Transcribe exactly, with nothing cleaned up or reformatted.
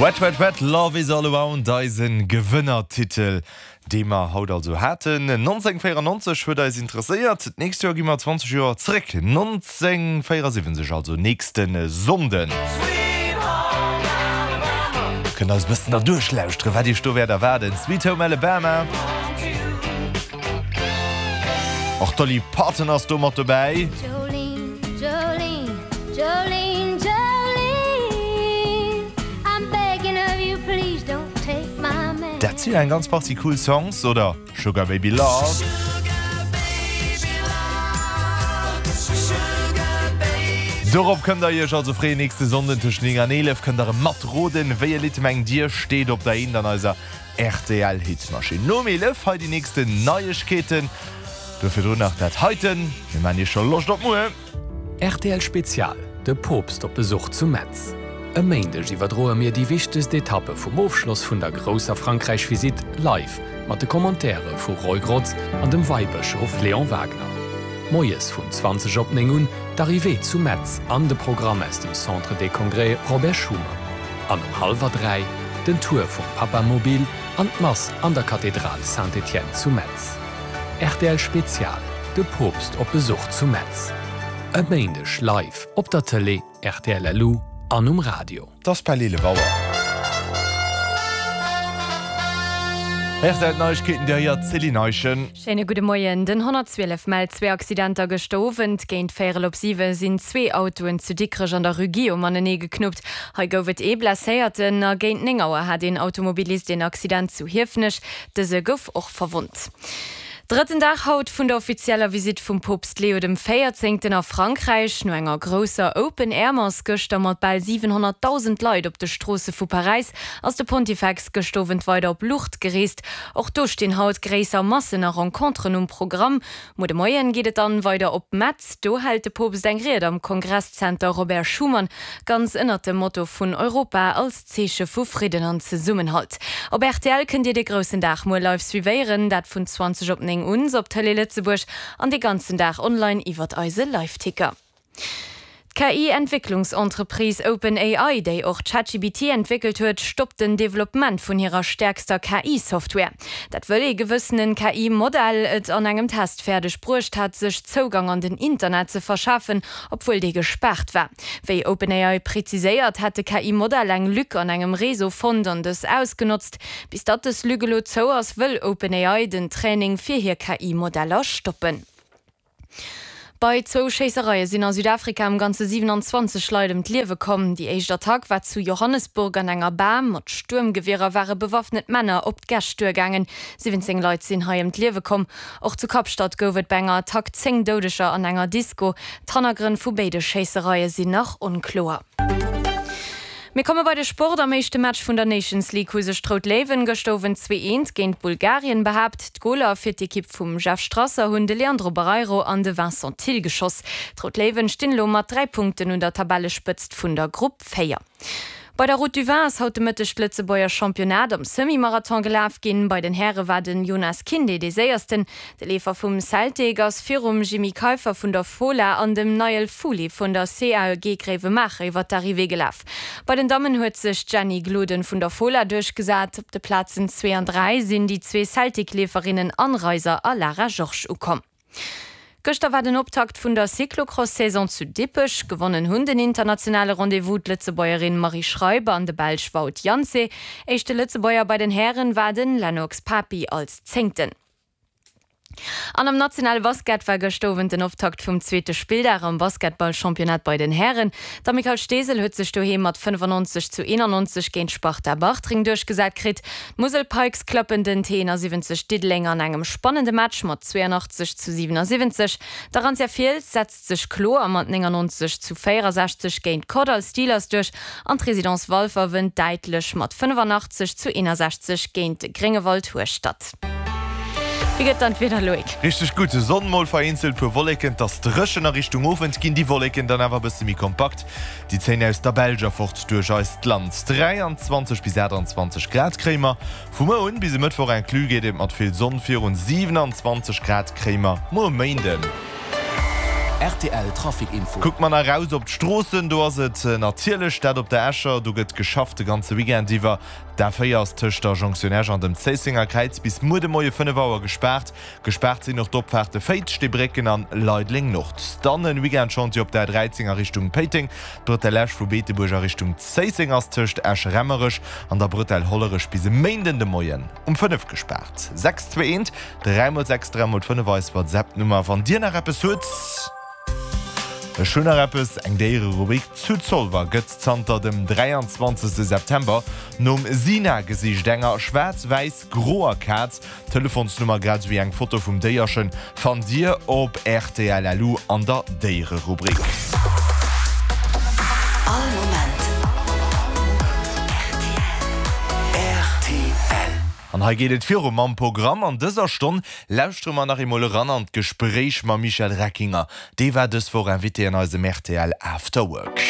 Wet Wet Wet, Love is all around, eisen Gewënnertitel, dee mer haut also haten. nonzéngvéierannonzeg huet eis interesséiert. D'nächst Joer gi mer zwanzeg Joer zeréck, nonzéngvéierasiwwenzeg, also nächste Sonnden. Kënnt eis bëssen derduerch lauschteren, wat iech do wäert erwaarden. Sweet Home Alabama. Och d'Dolly Parton ass do mat dobäi. Jolene, Jolene, Jolene, Jolene, I'm begging of you, please don't take my man. Dat si jo eng ganz Partie cool Songs, oder Sugar Baby Love. Dorop kënnt der iech also freeën, nächste Sonnden tëscht néng an eelef kënnt der erëm matroden, wéi e Lidd mengt dir steet op der Eent an eiser R T L Hitmaschinn. Nom eelef hei déi nächsten Neiegkeeten, do virdrun nach dat heiten, mir maan iech scho Loscht op muer. R T L Spezial, De Poopst op Besuch zu Metz. E Méindeg iwwerdroe mir déi wichtegst Etappe vum Ofschloss vun der grousser Frankräich-Visitt live mat de Commentaire vu Roy Grotz an dem Weibëschof Léon Wagner. Moies vun zwanzeg op néng un d'Arrivée zu Metz an de Programm aus dem Centre des Congrès Robert Schuman. An um hallwer dräi den Tour vum Papamobil an d'Mass an der Kathedral Saint-Étienne zu Metz. R T L Spezial, De Poopst op Besuch zu Metz. E Méindeg live op der Tëlee, R T L L U an um Radio. Et ass bal eelef Auer. R T L Neiegkeeten, déi héiert d'Céline Eischen. Schéine gudde Moien. Den honnertzwielef mellt zwee Accidenter gëschter Owend. Géint véierel op siwe sinn zwee Autoen zu Dikrech an der Rue Guillaume anenee geknuppt. Hei gouf et ee Blesséierten. A géint néng Auer hat een Automobilist een Accident zu Hiefenech. Dëse gouf och verwonnt. Drëtten Dag haut vun der offizieller Visitt vum Poopst Leo dem Véierzéngten a Frankräich. No enger grousser Open-Air-Mass gëschter mat bal siwenhonnertdausend Leit op de Stroosse vu Paräis ass de Pontifex gëscht Owend weider op Lourdes gereest. Och do stinn haut gréisser Massen a Renconteren um Programm. Muer de Moien geet et dann weider op Metz. Do hält de Poopst eng Ried am Kongresszenter Robert Schuman, ganz ënnert dem Motto vun Europa als Zeeche vu Fridden an Zesummenhalt. Op R T L kënnt Dir de groussen Dag muer live suivéieren, dat vun zwanzeg op néng un op Tëlee Lëtzebuerg an de ganzen Dag online iwwert eise Liveticker. D'K I-Entwécklungsentreprise OpenAI, déi och ChatGPT entwéckelt huet, stoppt den Developpement vun hirer stäerkster K I-Software. Dat wëll ee gewëssene K I-Modell et an engem Test fäerdeg bruecht hat, sech Zougang an den Internet ze verschafen, obwuel dee gespaart war. Wéi OpenAI preziséiert, hätt de K I-Modell eng Lück an engem Réseau fonnt an dës ausgenotzt. Bis datt dës Lück elo zou ass, wëll OpenAI den Training fir hir K I-Modeller stoppen. Bei zwou Schéissereie sinn a Südafrika am Ganze siewenanzwanzeg Leit ëm d'Liewe komm. Déi éischt Attack war zu Johannesburg an enger Bar. Mat Stuermgewierer ware bewaffnet Männer op d'Gäscht duergaangen. Siwwenzéng Leit sinn hei ëm d'Liewe komm. Och zu Kapstadt gouf et bei enger Attack zéng Doudeger an enger Disko. D'Hannergrënn vu béide Schéissereie sinn nach onkloer. Mir komme bei de Sport. Am éischte Match vun der Nations League hu sech d'Rout Léiwen gëschter Owend zwee eent géint Bulgarien behaapt. D'Goler fir d'Ekipp vum Jeff Strasser hunn de Leandro Barreiro an de Vincent Thill geschoss. D'Rout Léiwen stinn elo mat dräi Punkten un der Tabellespëtzt vun der Grupp véier. Bei der Route du Vin ass haut de Mëtteg d'Lëtzebuerger Championnat am Semi-Marathon gelaf ginn. Bei den Häre war den Jonas Kinde dee Séiersten. De Leefer vum Celtic ass virum Jimmy Keiffer vun der Fola an dem Niall Fuli vun der C A E G Gréiwemaacher iwwer d'Arrivée gelaf. Bei den Dammen huet sech d'Jenny Gloden vun der Fola duerchgesat. Op de Plazen zwee an dräi sinn déi zwee Celtic-Leeferinnen Anne Reiser a Lara Georges ukomm. Gëschter war den Optakt vun der Cyclocross-Saison zu Dippech. Gewonnen hunn den internationale Rendez-vous d'Lëtzebuergerin Marie Schreiber an de Belsch Wout Janse. Éischte Lëtzebuerger bei den Hären war den Lennox Papi als Zéngten. An am nationale Basket war gëschter Owend den Optakt vum zweete Spilldag am Basketballchampionnat bei den Hären. D'Amicale Steesel huet sech doheem mat fënnefannonzeg zu eenannonzeg géint d'Sparta Bartreng duerchgesat kritt. D'Musel Pikes klappen den T eenasiwwenzeg Diddeleng an engem spannende Match mat zweeanachtzeg zu siwenasiwwenzeg. D'Arantia Fiels setzt sech kloer mat néngannonzeg zu véierasechzeg géint d'Kordall Steelers duerch an d'Residence Walfer wënnt däitlech mat fënnefanachtzeg zu eenasechzeg géint de Gréngewald Hueschtert. Wéi gëtt dann d'Wieder, Loïc? Richteg gutt, Sonn, mol vereenzelt puer Wolleken, 't ass dréchen. A Richtung Owend ginn déi Wolleken dann awer bësse méi kompakt. Déi zéien aus der Belsch erfort duerch eist Land. dräianzwanzeg bis aachtanzwanzeg Grad kréie mer. Vu muer un bis e Mëttwoch inclus geet et mat vill Sonn virun. Siewenanzwanzeg Grad kréie mer muer Méinden. Rtl Trafic Info. Kucke mer nach raus op d'Stroossen, do ass et natierlech dat op der Escher, do gëtt geschafft de ganze Weekend iwwer. D'A véier ass tëscht der Jonktioun Esch an dem Zéissenger Kräiz bis muer de Moie fënnef Auer gespaart. Gespaart sinn och d'Opfaarte Féiz, Steebrécken an Leideleng Nord. Dann en Weekendchantier op der A dräizéng a Richtung Péiteng. D'Bretelle Esch vu Beetebuerg a Richtung Zéisseng ass tëscht Esch-Remmerech an der Bretelle Hollerech bis e Méinden de Moien um fënnef gespaart. Sechs zwee eent dräi mol sechs dräi mol fënnef eis WhatsApp-Nummer wann dir nach eppes hutt. Ech hunn nach eppes, eng Déiererubrik, Zu Zolwer gëtt zanter dem dräianzwanzegste September nom Sina gesicht, enger schwaarz-wäiss-groer Kaz. D'Telefonsnummer grad esou wéi eng Foto vum Déierchen fannt Dir op rtl.lu an der Déiererubrik. All Moment rtl. An hei geet et viru mam Programm. An dëser Stonn lauschtere mer nach eemol eran an d'Gespréich mam Michel Reckinger. Dee war dës Woch Invité an eisem rtl After Work.